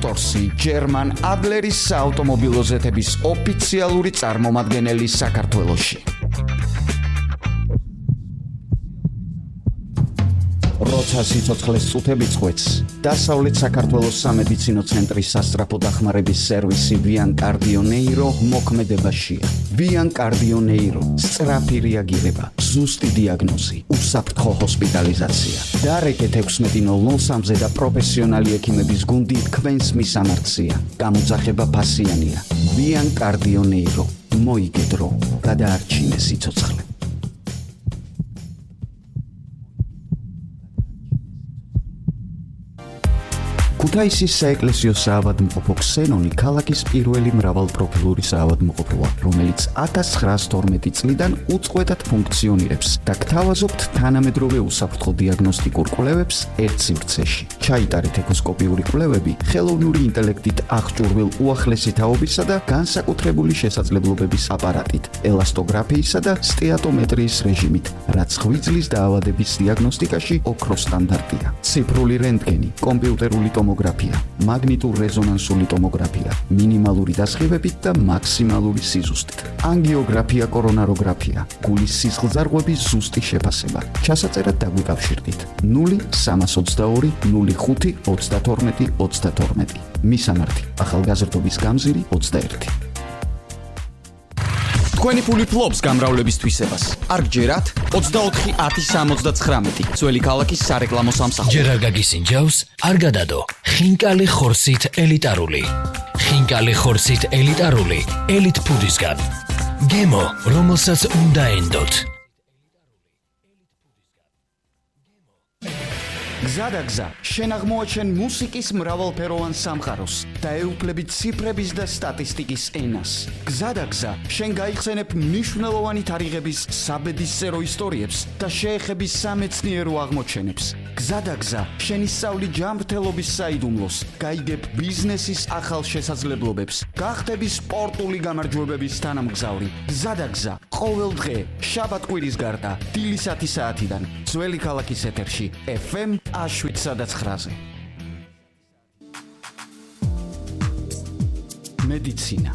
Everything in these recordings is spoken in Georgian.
Motorsi, German Adleris საავტომობილო ზეთების ოფიციალური წარმომადგენელი საქართველოში. როცა სიცოცხლეს წუთები წყვეტს, დასავლეთ საქართველოს სამედიცინო ცენტრის სასწრაფო დახმარების სერვისი Vian Cardio Neuro მოქმედებაშია. Vian Cardio Neuro, სწრაფი რეაგირება, ზუსტი დიაგნოზი, უსაფრთხო ჰოსპიტალიზაცია. დარეკეთ 16:03-ზე და პროფესიონალი ექიმების გუნდი თქვენს მისამართია. გამოძახება ფასიანია. Vian Cardio Neuro, მოიგედრო, გადაარჩინე სიცოცხლე. ქუთაისის საეკლესიო საავადმყოფო ქსენონი ქალაქის პირველი მრავალპროფილური საავადმყოფოა, რომელიც 1912 წლიდან უწყვეტად ფუნქციონირებს და გთავაზობთ თანამედროვე უსაფრთხო დიაგნოსტიკურ კვლევებს ერთ სივრცეში. ჩაიტარეთ ეკოსკოპიური კვლევები ხელოვნური ინტელექტით აღჭურვილ უახლესი თაობისა და განსაკუთრებული შესაძლებლობების აპარატით, ელასტოგრაფიისა და სტეატომეტრიის რეჟიმით, რაც ღვიძლის დაავადების დიაგნოსტიკაში ოქროს სტანდარტია. ციფრული რენტგენი, კომპიუტერული ტომოგრაფია, მაგნიტურ-რეზონანსული ტომოგრაფია, მინიმალური დასხივებით და მაქსიმალური სიზუსტით. ანგიოგრაფია, კორონაროგრაფია, გულის სისხლძარღვების ზუსტი შეფასება. ჩასაწერად დაგვიკავშირდით 0322 05 32 32. მისამართი: ახალგაზრდობის გამზირი 21. თქვენი ფული ფლობს გამრავლების თვისებას. არ გჯერათ 24 10 79 ძველი ქალაქის სარეკლამო სამსახური. ჯერ არ გაგისინჯავს, არ გადადო. ხინკალი ხორცით ელიტარული. ხინკალი ხორცით ელიტარული ელიტ ფუდისგან. გემო, რომელსაც უნდა ენდოთ. გზადაგზა, შენ აღმოაჩენ მუსიკის მრავალფეროვან სამყაროს და ეუფლებით ციფრების და სტატისტიკის ენას. გზადაგზა, შენ გაიხსენებ მნიშვნელოვანი თარიღების საბედისწერო ისტორიებს და შეეხები სამეცნიერო აღმოჩენებს. გზადაგზა, შენ ისწავლი ჯანმრთელობის საიდუმლოს, გაიგებ ბიზნესის ახალ შესაძლებლობებს, გახდები სპორტული გამარჯვებების თანამგზავრი. გზადაგზა, ყოველ დღე, შაბათ-კვირის გარდა, დილის 10 საათიდან, ძველი ქალაქის ეთერში, FM 7-9-ზე. მედიცინა.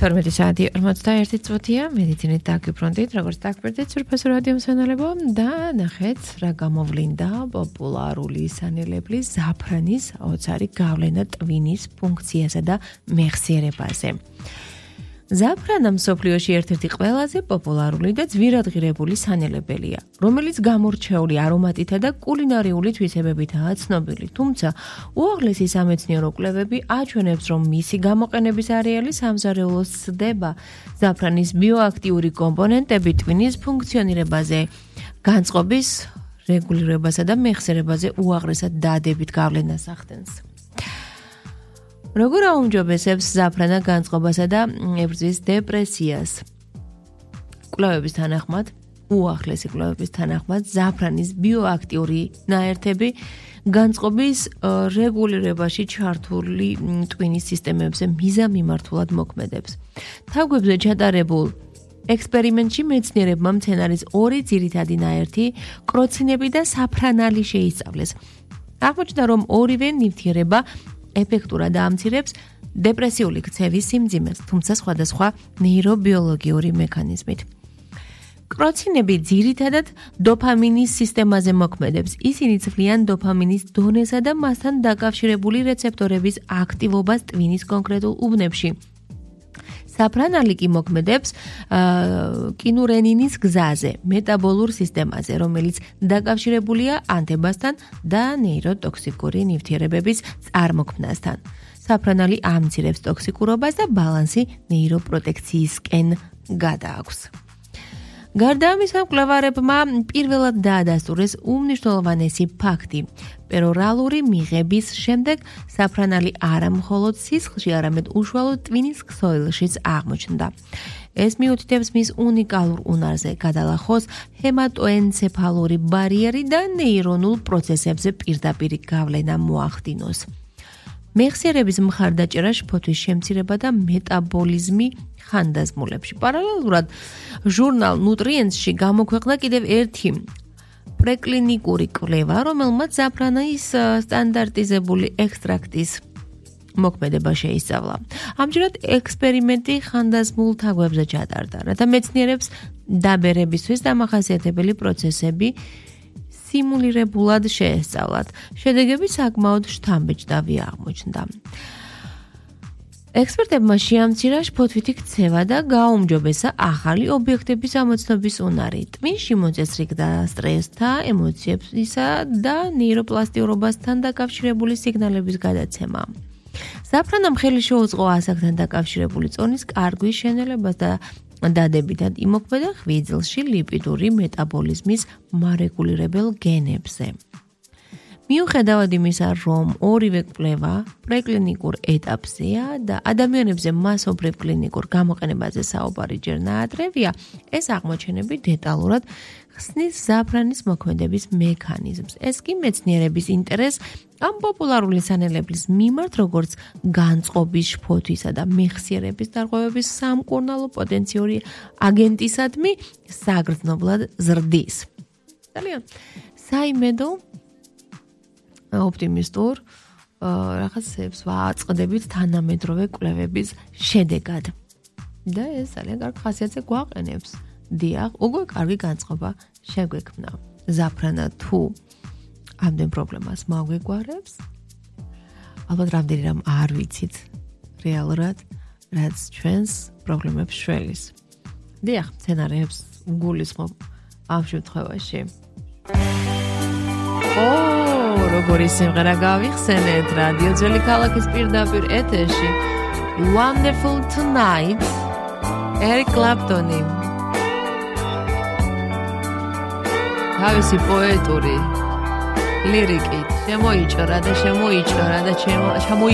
12 საათი 41 წუთია, მედიცინით დაგიბრუნდით, როგორც დაგბერდით სურფასო რადიო მსმენელებო და ნახეთ რა გამოვლინდა პოპულარული სანელებლის ზაფრანის აუცარი გავლენა ტვინის ფუნქციასა და მეხსიერებაზე. ზაფრანა მსოფლიოში ერთ-ერთი ყველაზე პოპულარული და ძვირადღირებული სანელებელია, რომელიც გამორჩეული არომატითა და კულინარიული თვისებებითაა ცნობილი. თუმცა, უაღლესი სამეცნიერო კვლევები აჩვენებს, რომ მისი გამოყენების არეალი სამზარეულოს ცდება ზაფრანის ბიოაქტიური კომპონენტები ტვინის ფუნქციონირებაზე, განწყობის რეგულირებასა და მეხსიერებაზე უაღრესად დადებით გავლენას ახდენს. როგორ აუმჯობესებს ზაფრანა განწყობასა და ებრძვის დეპრესიას? კვლევების თანახმად, უახლესი კვლევების თანახმად, ზაფრანის ბიოაქტიური ნაერთები განწყობის რეგულირებაში ჩართული ტვინის სისტემებზე მიზანმიმართულად მოქმედებს. თავგვებზე ჩატარებულ ექსპერიმენტში მეცნიერებმა მცენარის ორი ძირითადი ნაერთი, კროცინები და საფრანალი შეისწავლეს. აღმოჩნდა, რომ ორივე ნივთიერება ეფექტურად ამცირებს დეპრესიული ქცევის სიმძიმეს, თუმცა სხვადასხვა ნეირობიოლოგიური მექანიზმით. კროცინები ძირითადად დოფამინის სისტემაზე მოქმედებს. ისინი ცვლიან დოფამინის დონესა და მასთან დაკავშირებული რეცეპტორების აქტივობას ტვინის კონკრეტულ უბნებში. საფრანალი კი მოქმედებს კინურენინის გზაზე, მეტაბოლურ სისტემაზე, რომელიც დაკავშირებულია ანთებასთან და ნეიროტოქსიკური ნივთიერებების წარმოქმნასთან. საფრანალი ამცირებს ტოქსიკურობას და ბალანსი ნეიროპროტექციისკენ გადააქვს. გარდა ამისა, მკვლევარებმა პირველად დაადასტურეს უმნიშვნელოვანესი ფაქტი. პერორალური მიღების შემდეგ საფრანალი არა მხოლოდ სისხლში, არამედ უშუალოდ ტვინის ქსოვილშიც აღმოჩნდა. ეს მიუთითებს მის უნიკალურ უნარზე გადალახოს ჰემატოენცეფალური ბარიერი და ნეირონულ პროცესებზე პირდაპირი გავლენა მოახდინოს. მეხსიერების მხარდაჭერა, შფოთვის შემცირება და მეტაბოლიზმი ხანდაზმულებში. პარალელურად ჟურნალ ნუტრიენტსში გამოქვეყნდა კიდევ ერთი პრეკლინიკური კვლევა, რომელმაც ზაფრანის სტანდარტიზებული ექსტრაქტის მოქმედება შეისწავლა. ამჯერად ექსპერიმენტი ხანდაზმულ თაგვებზე ჩატარდა, რათა მეცნიერებს დაბერებისთვის დამახასიათებელი პროცესები სიმულირებულად შეესწავლათ. შედეგები საკმაოდ შთამბეჭდავი აღმოჩნდა. ექსპერტებმა შეამცირა შფოთვითი ქცევა და გააუმჯობესა ახალი ობიექტების ამოცნობის უნარი. ტვინში მოწესრიგდა სტრესთა, ემოციებისა და ნეიროპლასტიურობასთან დაკავშირებული სიგნალების გადაცემა. ზაფრანამ ხელი შეუწყო ასაკთან დაკავშირებული წონის კარგვის შენელებას და დადებითად იმოქმედა ღვიძლში ლიპიდური მეტაბოლიზმის მარეგულირებელ გენებზე. მიუხედავად იმისა, რომ ორივე კვლევა პრეკლინიკურ ეტაპზეა და ადამიანებზე მასობრივ კლინიკურ გამოყენებაზე საუბარი ჯერ ნაადრევია, ეს აღმოჩენები დეტალურად ხსნის ზაფრანის მოქმედების მექანიზმს. ეს კი მეცნიერების ინტერესს ამ პოპულარული სანელებლის მიმართ, როგორც განწყობის, შფოთვისა და მეხსიერების დარღვევების სამკურნალო პოტენციური აგენტისადმი საგრძნობლად ზრდის. ძალიან საიმედო ოპტიმისტურ რაღაცებს ვაწყდებით თანამედროვე კვლევების შედეგად. და ეს ძალიან კარგ ხასიათზე გვაყენებს. დიახ, უკვე კარგი განწყობა შეგვექმნა. ზაფრანა თუ ამდენ პრობლემას მაგვეგვარებს, ალბათ რამდენი რამ არ ვიცით რეალურად, რაც ჩვენს პრობლემებს შველის. დიახ, სცენარებს გულისხმობ ამ შემთხვევაში. როგორი სიმღერა გავიხსენეთ რადიო ძველი ქალაქის პირდაპირ ეთერში. Wonderful Tonight, Eric Clapton. თავისი პოეტური ლირიკით შემოიჭრა და